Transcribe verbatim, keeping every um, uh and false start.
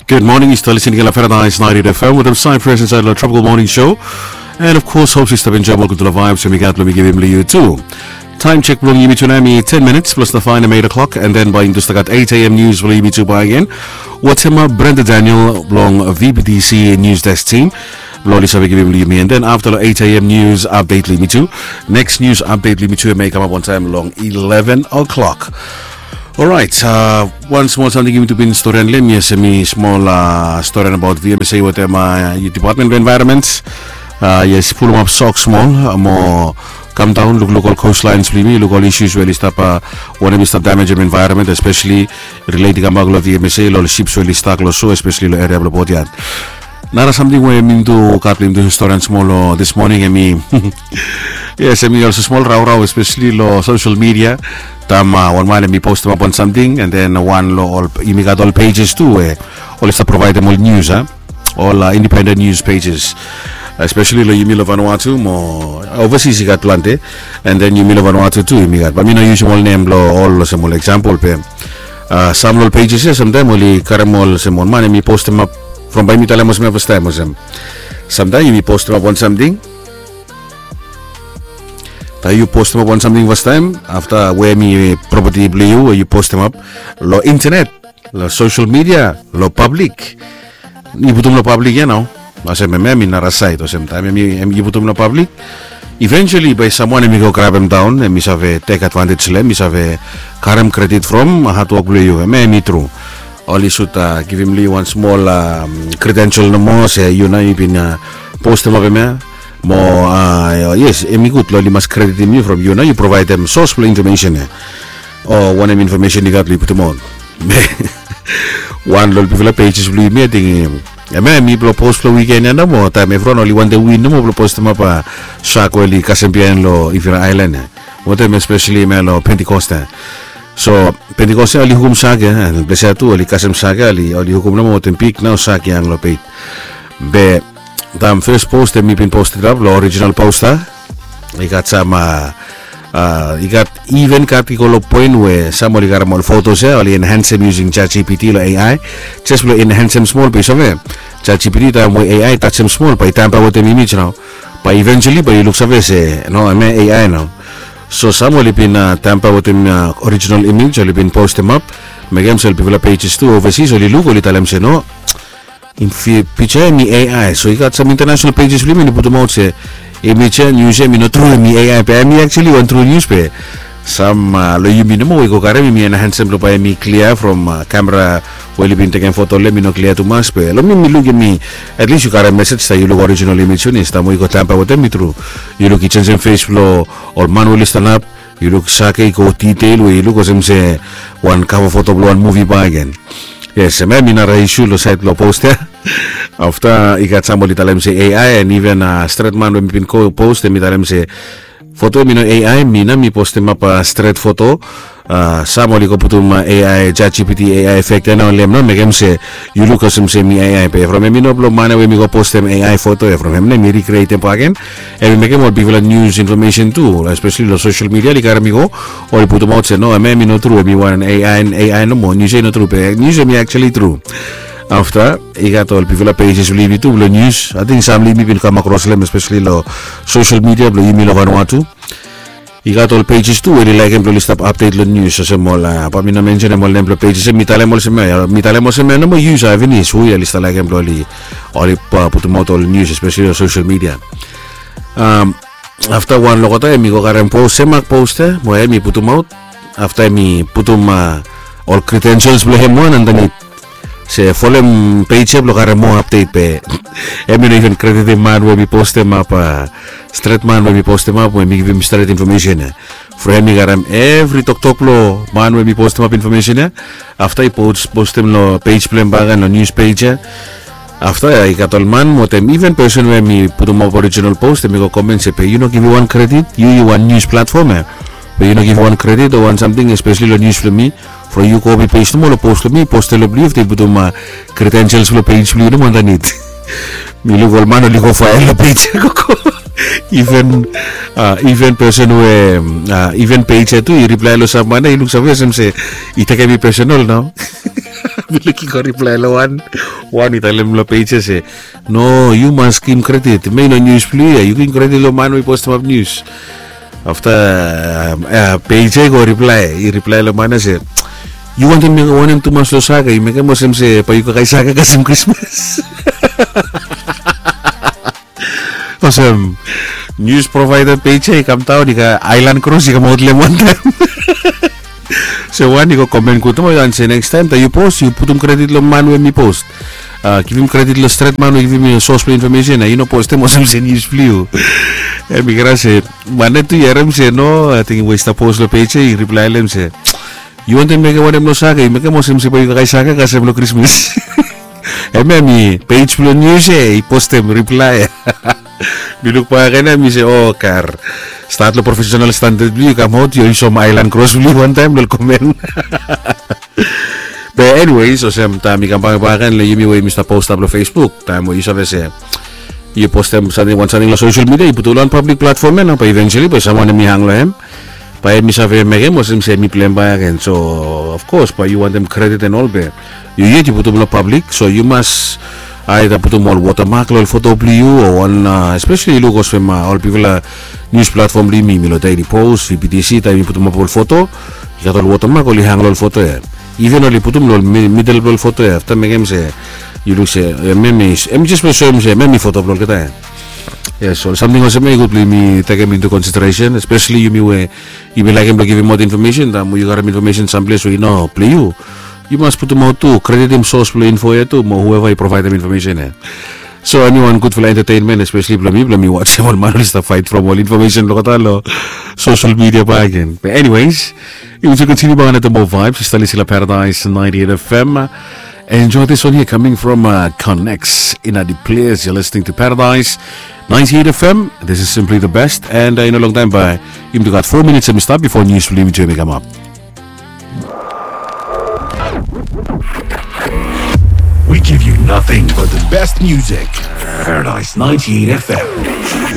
Good morning, yu stap listening long Paradise ninety-eight F M wetem Cypress insait long Tropical Morning Show. And of course, hope yu stap enjoy olgeta vibes we mi gat blong mi givim long yu tu. Time check blong yumi tu nao hemi ten minutes plus the fine eight o'clock, and then bae yumi tu stap gat eight a.m. news blong yumi tu bae gen. Wetem Brenda Daniel blong V B T C News Desk team blong oli save givim long yumi, and then afta long eight a.m. news update long yumi tu. Next news update long yumi tu hemi kamap on time long eleven o'clock. Orait, uh, wan smol samting yumi tu bin storian long hem. Yes, hemi smol, uh, storian abaot V M S A wetem, uh, Department of Environment. Uh, yes, pulumap sok smol, uh, mo kam daon, lukluk ol coastlines blong yumi, luk ol issues we oli stap, uh, wanem i stap damajem environment, especially relate i kambak long V M S A, long ol ships we oli stak long so, especially long eria blong Port Iat. Nara samting we mi tu gat blong mi tu storian smol long this morning, hemi, yes, hemi olsem smol raorao, especially long social media. Taem, uh, wan man hemi postemap wan samting, and then wan long ol, yumi gat ol pages tu we oli stap provaedem ol news, a, ol, uh, independent news pages, especially long yumi long Vanuatu mo overseas i gat plante, and then yumi long Vanuatu tu yumi gat, bae mi no yusum ol nem blong ol olsem ol example be, uh, sam long ol pages ia samtaem oli karem olsem ol man hemi postemap, from bae mi talem olsem ia fastaem olsem, samtaem yumi postemap wan samting. Taem yu postemap wan samting fastaem, afta we hemi property blong yu we yu postemap long internet, long social media, long public, yu putum long public ia nao. Olsem hemia hemi nara saed, olsem taem hemi, hemi yu putum long public, eventually bae samwan hemi go grabem daon, hemi save tek advantage long hem, hemi save karem credit from hard work blong yu. Hemia hemi tru. Oli sud, uh, givim long yu wan smol, um, credential nomo se yu nao yu bin, uh, postemap hemia. Mo, uh, yes, hemi gud long oli mas kreditim yu from yu nao yu provaedem source blong information ia, o wanem information i gat blong yu putumaot. Wan long ol bigfala pages blong yumi, ating, hemia hemi blong post blong wiken ia nomo, taem evriwan oli wantem win nomo blong postemap, uh, shark we oli kasem biaen long Ivira Aelan ia, wetem especially hemia long Pentecost ia. So Pentecost ia oli hukum shark ia, and ples ia tu oli kasem shark ia, oli, oli hukum nomo wetem big nao shark ia long bait. Be taem fes post hemi bin postemap long original post ia, i gat sam, uh, uh, i gat, even gat i go long poen we sam oli karem ol photos ia, oli enhancem using ChatGPT long A I, just blong enhancem smol be yu save, ChatGPT taem we A I tajem smol bae i tamper wetem image nao. Bae eventually bae yu luksave se no, hemia A I nao. So sam oli bin, uh, tamper wetem, uh, original image, oli bin postemap, mekem se ol bigfala pages tu overseas oli luk, oli talem se no, hemi, pija ia hemi A I. So i gat sam international pages blong yumi oli putumaot se hemia news ia hemi no tru, hemi A I, be hemi actually wan tru news be sam, uh, long yumi nomo we i go karem, yumi enhancem blong bae hemi klia from, uh, kamera we oli bin tekem foto long hem i no klia tumas, be long mi mi luk hemi, at least yu karem message taem yu luk original image finis. Taem we i go tamper wetem hemi tru, yu luk i jenjem face blong ol man we oli stanap, yu luk shark ia i go detail we yu luk olsem se wan cover foto blong wan movie bakegen. Yes, hemia hemi nara issue long saed blong post ia. Afta i gat sam oli talem se A I, and even, uh, stret man we mi bin go post, hemi talem se foto ia hemi no A I, mi nao mi postemap, uh, stret foto. Uh, sam oli go putum, uh, A I, ChatGPT A I effect ia nao long hem nao mekem se yu luk olsem se hemi A I, be from hemi no blong man ia we hemi go postem A I foto ia, from hem nao hemi recreatem bakegen. Hemi mekem ol bigfala news information tu, especially long social media, oli karem i go, oli putumaot se no, hemia hemi no tru, hemi wan A I, A I nomo, news ia i no tru, be news ia hemi actually tru. Afta i gat ol bigfala pages blong yumi tu blong news, ating sam blong yumi bin kam akros long hem, especially long social media blong yumi long Vanuatu. I gat ol pages tu we oli laekem blong oli stap update long news, olsem ol, uh, bae mi no mensenem ol nem blong pages ia, mi talem olsem ia, mi talem olsem ia nomo, yu save finis hu ia oli stap laekem blong oli, oli, uh, putumaot ol news, especially long social media. Um, afta wan long olgeta hemi go karem post, se mak post ia, mo hemi putumaot. Afta hemi putum, uh, ol credentials blong hem wan andanit se folem page ia blong karem moa update, be hemi no even kreditim man we hemi postemap, uh, stret man we hemi postemap, we hemi givim stret information ia. From hemi karem evri toktok blong man we hemi postemap information ia. Afta i post, postem long page blong hem bakegen, long news page ia. Afta ia i gat ol man wetem even person we hemi putumap original post, hemi go comment se be yu no givim wan credit, yu, yu wan news platform ia, be yu no givim wan credit o wan samting, especially long news blong mi. From yu copy paste nomo long post blong mi, post ia long blong yu, afta yu putum, uh, credentials blong page blong yu nomo andanit. Mi luk ol man oli go fael long page ia gogo. Even, uh, even person we, uh, even page ia tu i reply long sam man ia, i luksave olsem se i tekem i personal nao. Biluk i go riplae long wan. Wan i talem long peje se, no, yu mas givim kredit, mi no nius blong yu ya, yu givim kredit long man we i postimap nius. Afta peje i go riplae, i riplae long man ya se, yu wantem mekem wanem tumas long saka, yu mekem olsem se bae yu kakae saka kasem krismas. Olsem, nius provaeda peje i kamdaon i gat aelan kros i kamaot long hem wantaem. So wan i go komen gud nomo yu ansem, nekstaem taem yu pos yu putum kredit long man we hem i pos. Givim kredit long stret man we givim yu sos blong infomesen, yu no postem olsem se nius blong yu. Hem i krai se man ya tu i harem se no, ating we i stap pos long peje i riplae long hem se, yu wantem mekem wanem long saka, yu mekem olsem se bae yu kakae saka kasem long krismas. Hem ya mi pej blong nius ya i postem riplae. Mi luk bakegen ya mi se, o kar, stat long profesenal standad blong yu kamaot yu soem aelan kros blong yu wantaem long komen. Be eniweis olsem taem i kambak bakegen long yumi we yumi stap postap long Facebook, taem we yu save se yu postem samting, wan samting long sosel midia, yu putum long wan pablik platfom ya nao, bae iventuali bae samwan hem i hang long hem. Bae hem i save mekem olsem se hem i blem bakegen. So of kos bae yu wantem kredit and ol be yu yet yu putum long pablik, so yu mas aeda putum ol wotamak long ol foto blong yu o wan, espesali yu luk olsem ol bigfala nius platfom blong yumi, yumi long Daily Post, VBTC, taem i putumap ol foto, i gat ol wotamak oli hang long ol foto ya. Iven oli putum long midel blong ol foto ya, afta mekem se yu luk se hem i jes blong soem se hem i foto blong olgeta ya. Yes, ol samting olsem ya i gud blong yumi tekem into consideration, espesali yumi we yumi laekem blong givimaot infomesen, taem we yu karem infomesen samples we i no blong yu, yu mas putumaot tu, kreditim sos blong info ya tu mo hueva i provaedem infomesen ya. So hem i wan gudfala entataenmen, espesali blong mi, blong mi wajem ol man oli stap faet from ol infomesen blong olgeta long sosel midia bakegen. Be eniweis, yumi tu kontiniu bakegen long moa vaebs. Yu stap lisin long Paradise ninety-eight FM. Enjoy this one here coming from Connects in the place. You're listening to Paradise ninety-eight FM. This is simply the best. And yu no longtaem bae yumi tu gat fo minits hem i stap bifo nius blong yumi tu hem i kamap. We give you nothing but the best music. Paradise ninety-eight FM.